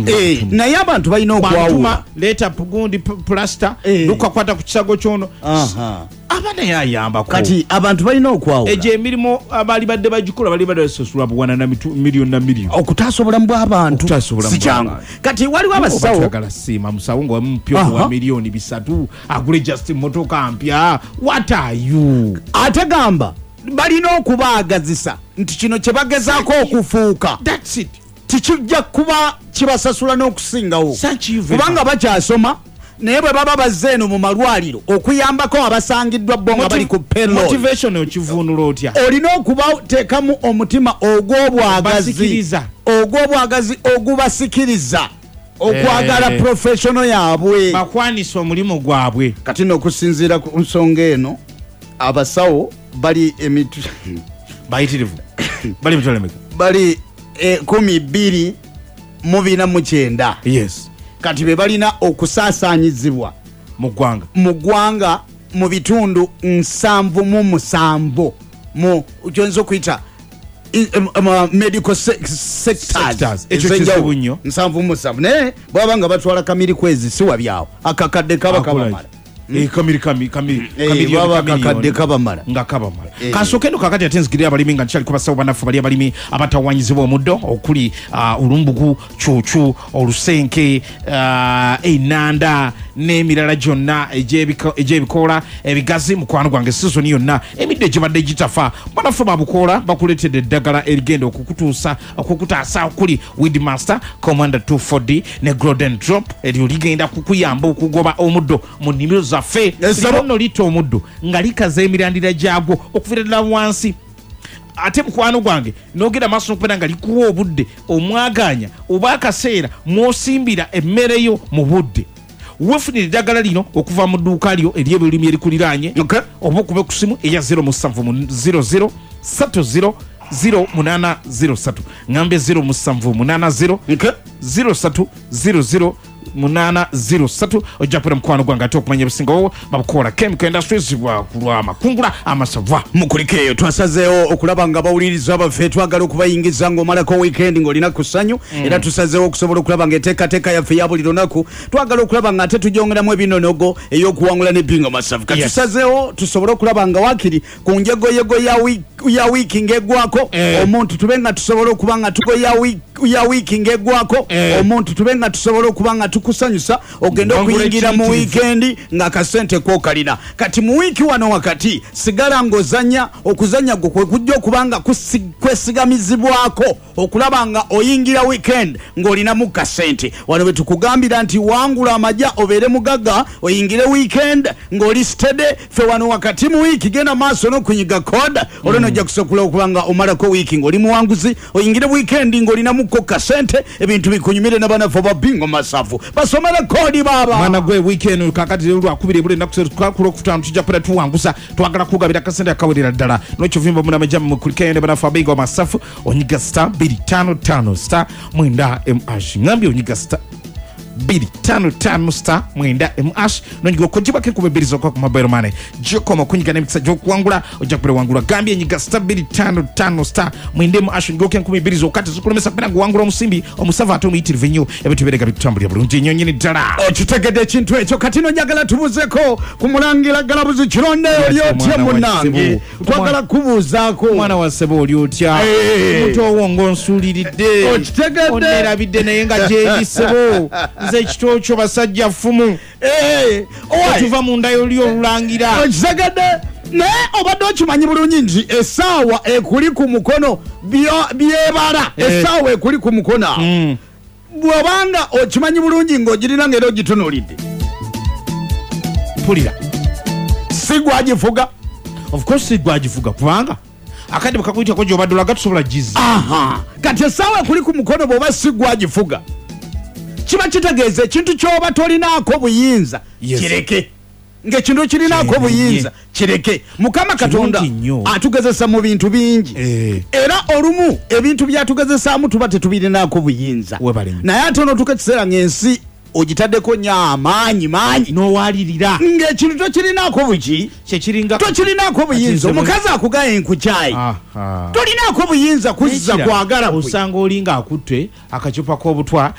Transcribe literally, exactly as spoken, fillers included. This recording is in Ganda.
Eh, naye abantu balina okwawula. Leeta gundi, pulasita. Eh. Lukakwata ku kisago kyono. Aha. Aba naye ayambako. Kati abantu balina okwawula. Egyo emirimu abaali badde bagikola bali badde basasula buwana na mitu- miliyoni na miliyoni. Okutaasa obulamu bw'abantu Okutaasa obulamu si kyangu. bw'abantu. Kati waliwo abasawo. Twagala siima musawo nga wamupya Aha. wa miliyoni bisatu agule just motoka mpya. What are you? Ate gamba balina okubaagazisa nti kino kye bagezaako okufuuka That's it. tikijja kuba kibasasula n'okusingawo. Thank you very Kubanga much. bakyasoma, naye bwe baba bazze eno mu malwaliro okuyambako abasangiddwa bo nga bali ku payroll. Motivation okivuunula otya? Olina okubateekamu omutima ogw'obwagazi. Basikiriza. Ogw'obwagazi ogubasikiriza okwagala Eh. professional yaabwe. Bakwanisa omulimu gwabwe. Kati nookusinziira ku nsonga eno, abasawo bali emitu Bayitirivu, bali mitwalo emeka? Bali ekumi bbiri mu bina mu kyenda. Yes kati be balina okusaasaanyizibwa mu ggwanga. Mu ggwanga, mu bitundu nsanvu mu musanvu mu kyoyinza okuyita i- em- em, medical se- sectors. Sectors. Ekyo ez'enjawulo. kizibu nnyo. Nsanvu mu musanvu, naye bwaba nga batwala kamiri kwezi si wabyawo, akakadde kaba kabamala. Eh, kamiri kami kami Eh, kamiliyoni, bwaba kamiliyoni. akakadde kabamala. Nga kabamala. Eh. Kansooke eno kakati ate nzigirira abalimi nga nkyali ku basawo bannaffe bali abalimi abatawanyizibwa omuddo okuli ah, olumbugu, cuucu, olusenke, ah, enanda n'emirala gyonna egy'ebiko- egy'ebikoola ebigazi. Mukwano gwange, sizoni yonna emiddo egibadde gitafa, bannaffe babukoola bakuleetedde eddagala erigenda okukutuusa okukutaasa okuli Weedmaster Commander two four D ne Golden Drop. Eryo ligenda kukuyamba okugoba omuddo mu nnimiro zaffe. Yes, sir. Lino nno litta omuddo nga likaza emirandira gyagwo okuviira ddala wansi. Ate mukwano gwange, nogenda maaso nokubeera nga likuwa obudde omwaganya oba akaseera mwosimbira emmere yo mu budde. Wefunira eddagala lino okuva mu dduuka lyo eryebirimi erikuliraanye Okay. oba okube ku simu eya zero seven zero zero three zero zero eight zero three. Ngambe zero seven eight zero Okay. zero three zero zero eight zero three. Ojja kubeera mukwano gwange ate okumanya ebisingawo. Babukola Chemical Industries, kulwa amakungula amasava. Mukulikeeyo. Twasazeewo okulaba nga bawuliriza baffe twagala okubayingiza ng'omalako weekend ng'olina ku ssanyu, era tusazeewo okusobola okulaba nga enteekateeka yaffe ya buli lunaku twagala okulaba nga ate tugyongeramu ebinonogo ey'okuwangula n'ebingo masavu. Kati Yes. tusazeewo tusobole okulaba nga wakiri ku njegoyego ya wiiki- ya wiiki ng'eggwako Eh. omuntu tube nga tusobola okuba nga tugo ya wiiki- ya wiiki ng'eggwako Eh. omuntu tube nga tusobola okuba nga tukusanyusa ogende Wangula okuyingira mu ekiyitirivu. wiikendi ng'akasente kokalina. Kati mu wiiki wano wakati sigala ng'ozanya, okuzanya gwo kwe kujja okuba nga kusi- kwesigamizibwako okulaba nga oyingira weekend ng'olinamu kasente. Wano bwe tukugambira nti wangula amajja obeere mugagga, oyingire weekend ng'oli steady. Fe wano wakati mu wiiki genda maaso n'okunyiga code olwo nojja kusobola okuba nga omalako wiiki ng'oli muwanguzi, oyingire weekend ng'olinamuko kasente, ebintu bikunyumire n'abanafu ba Bingo Masafu. Basomere code, baaba. Mwana gwe, weekend kakati lwakubiri ebula ennaku lwokutaano tujja kubeera tuwanguza. Twagala kugabira akasente akawerera ddala nokivimba munamajja. Mukulikeyo ne banafu abinga masafu. Onyiga star two five five star nine m hash. Ngambye onyiga star two five five star nine m hash, nonyiga okugibwako enkuba ebbiri zokka ku mobile money. Gyokoma okunyiga n'emikisa gy'okuwangula, ojja kubeera wangula. Gambye enyiga star two five five star nine m hash, onyigako enkumi ebbiri zokka, tezikulemesa kubeera nga omusimbi omusavu ate omuyitirivu ennyo. Ebintu bibeerega bitutambulira bulungi ennyo nyini ddala. Okitegedde ekintu ekyo. Kati no njagala tubuuzeko ku Mulangira Galabuzi Kironde. Oli otya? Omwana wa Munnange, Ssebo. twagala kubuuzaako. Omwana wa ssebo, oli otya? Eh. Mutowo ng'onsuuliridde. Okitegedde? Onerabidde, naye nga gyeri ssebo. Nze ekitoo kyo basajja ffumu. Eh, owaye, otuva mu nda yoli olulangira. Okitegedde? Naye obadde okimanyi bulungi nti essaawa ekuli ku mukono byo- byebala Eh. essaawa ekuli ku mukono awo, Mm. bw'obanga okimanyi bulungi ng'ogirina ng'era ogitunuulidde, Mpulira. Si gwagifuga? Of course si gwagifuga, kubanga akadde bwekakuyitako gyobadde olaga tusobola giza. Aha, kati essaawa ekuli ku mukono bw'oba si gwagifuga, kiba kitegeeza ekintu ky'oba tolinaako buyinza Yes. kireke. Ng'ekintu kirinaako Kireke. buyinza kireke. Mukama Katonda Kirungi nnyo. atugezesa mu bintu bingi, Eh. era olumu ebintu byatugezesaamu tuba tetubirinaako buyinza. Webale nnyo. Naye ate onootuuka ekiseera ng'ensi ogitaddeko nnyo amaanyi maanyi n'owalirira ng'ekintu tokirinaako buki kyekiringa tokirinaako buyinza. Kati nze bwe- Omukazi akugaye nkukyayi, Aha. tolinaako buyinza kuzza N'ekirala, kwagala kwe. osanga oli ng'akutte akacupa k'obutwa.